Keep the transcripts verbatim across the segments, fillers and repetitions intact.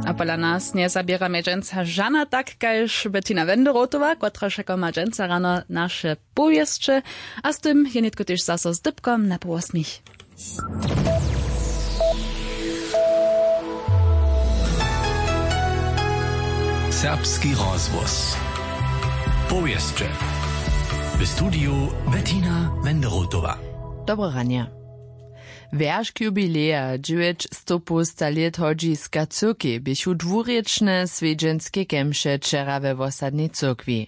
A pola nas njezaběra mje dźensa žana tak kaž Bettina Wenderotowa, kotraž jako ma dźensa rano naše powěsće. A z tym je nětko tež zaso z dypkom na połosmich. Serbski rozhłos. Powěsće. W studiju Bettina Wenderotowa. Dobre ranje. Wjeršk jubileja dźewjećstopołsta lět hodźiska cyrkej běchu dwurěčne swjedźenske kemše wčera we wosadnej cyrkwi.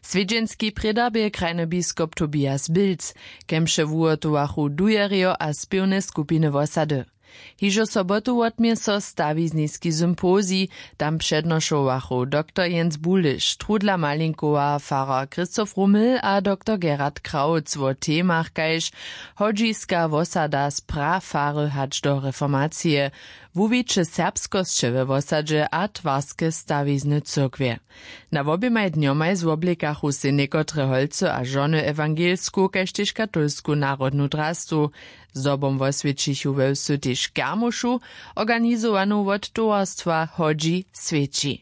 Swjedźenski prěda bě krajny biskop Tobias Bilc. Kemše wuhotowachu dujerjo a spěwne skupiny wosady. Hižo sobotu wotmě so stawizniski sympozij. Tam přednošowachu doktor Jens Buliš, Trudla Malinkowa, farar Christoph Rummel a doktor Gerhard Krautz wo temach kaž hodźiska wosada z prafary hač do reformacije, wuwiće serbskosće we wosadźe a twarske stawizny cyrkwje. Na woběmaj dnjomaj zwoblikachu sej někotre holcy a žony ewangelsku kaž tež katolsku narodnu drastu. Zdobom woswjećichu we wsu tež kermušu, organizowanu wot towarstwa Hodźi swjeći.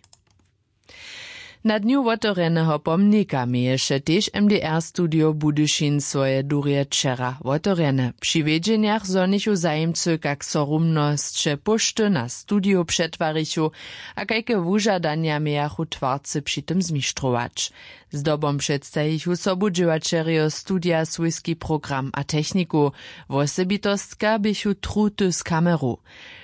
Na dnju wotewrjeneho pomnika měješe tež M D R studio Budyšin swoje durje wčera wotewrjene. Při wědźenjach zhonichu zajimcy kak so rumnosće póšty na studio přetwarichu a kajke wužadanja mějachu twarcy při tym zmištrować. Zdobom předstajichu sobudźěłaćerjo studija swójski program a techniku. Wosebitostka běchu truty z kameru.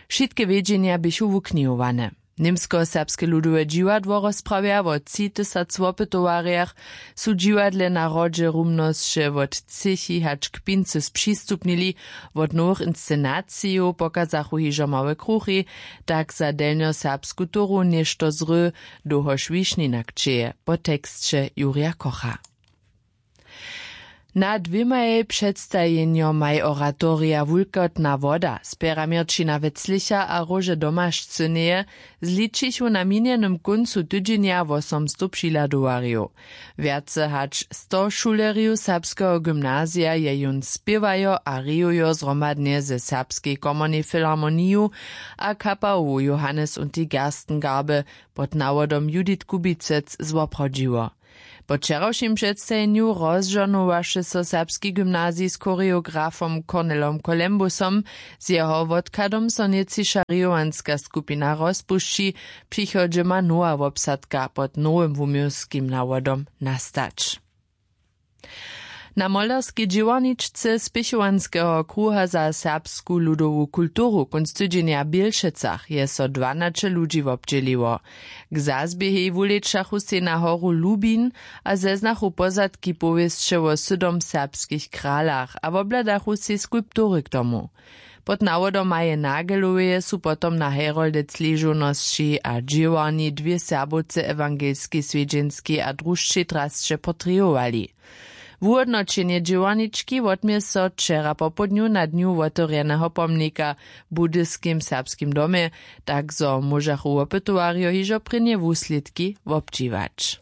Wšitke wědźenja běchu wuknihowane. Němskoserbske ludowe dźiwadło rozprawja wo tři tysac wopytowarjach. Su dźiwadle na hrodźe rumnosće wot třěchi hač k pincy spřistupnili. Wot nowych inscenacijow pokazachu hižo małe kruchi, tak za delnjoserbsku toru něšto zry, dołhož wišnina kćeje po teksće Jurja Kocha. Na dwěmaj předstajenjomaj oratorija Wulkotna woda, spjera měrćina weclicha a róže domašcyneje, zličichu na minjenym kóncu tydźenja wosomstow přihladowarjow. Wjace hač sto šulerjow serbskeho gymnazija je jón spěwajo a rejujo zhromadnje ze serbskej komornej filharmoniju a kapałowu Johannes und die Gerstengarbe pod nawodom Judith Kubicec zwoprawdźiło. Po wčerawšim předstajenju rozžohnowaše so serbski gymnazij z choreografom Cornelom Colembusom. Z jeho wotkadom so nětčiša rejowanska skupina rozpušći. Přichodźe ma nowa wobsadka pod nowym wuměłskim nawodom nastać. Na molerskej dźěłarničce spěchowanskeho kruha za serbsku ludowu kulturu kónc tydźenja w Bělšecach je so dwanaće ludźi wobdźěliło. K zazběhej wulečachu sej na horu Lubin a zeznachu pozadki powěsće wo sydom serbskich kralach a wobhladachu sej skulptury k tomu. Pod nawodom Maje Nageloweje su potom na Heroldec ležownosći a dźěłarni dwě serbowce ewangelskej swjedźenskej a drušćej drasće portrejowali. Wuhódnoćenje dźěłarnički wotmě so wčera popołdnju na dnju wotewrjeneho pomnika w budyskim serbskim domje, tak zo móžachu wopytowarjo hižo prěnje wuslědki wobdźiwać.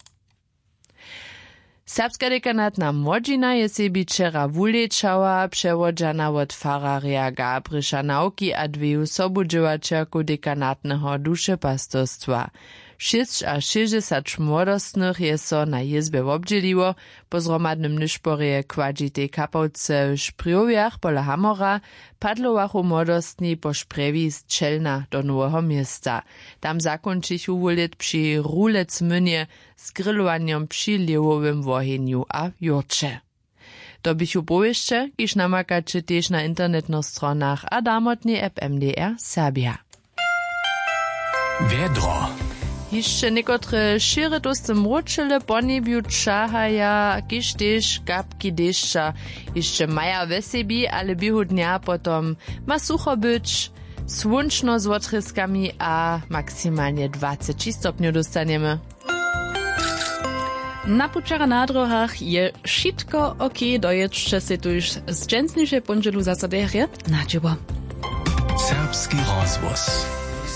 Serbska dekanatna młodźina je sebi wčera wulečała, přewodźana wot fararja Gabriša Nawki a dweju sobudźěłaćerkow dekanatneho dušepastyrstwa. Šěsćašěsćdźesać młodostnych je so na jězbje wobdźěliło. Po zhromadnym nyšporje w kładźitej kapałce w Šprjowjach pola Hamora padlowachu młodostni po Šprjewi z Čelna do Noweho Města. Tam zakónčichu wulět při Rulecmynje z grilowanjom při lěhowym wohenju a jórće. To běchu powěsće, kiž namakaće tež na internetnych stronach a damotnej app M D R Serbja. Wjedro. Hišće někotre šěry tołsty mróčele po njebju ćahaja, kiž tež kapki dešća hišće maja we sebi, ale běhu dnja potom ma sucho być, słónčno z wotrězkami a maksimalnje dwaceći stopnjow dóstanjemy. Na pućach a na dróhach je wšitko ok, dojědźće sej tuž z dźensnišej póndźelu zaso derje na dźěło. Serbski rozhłos.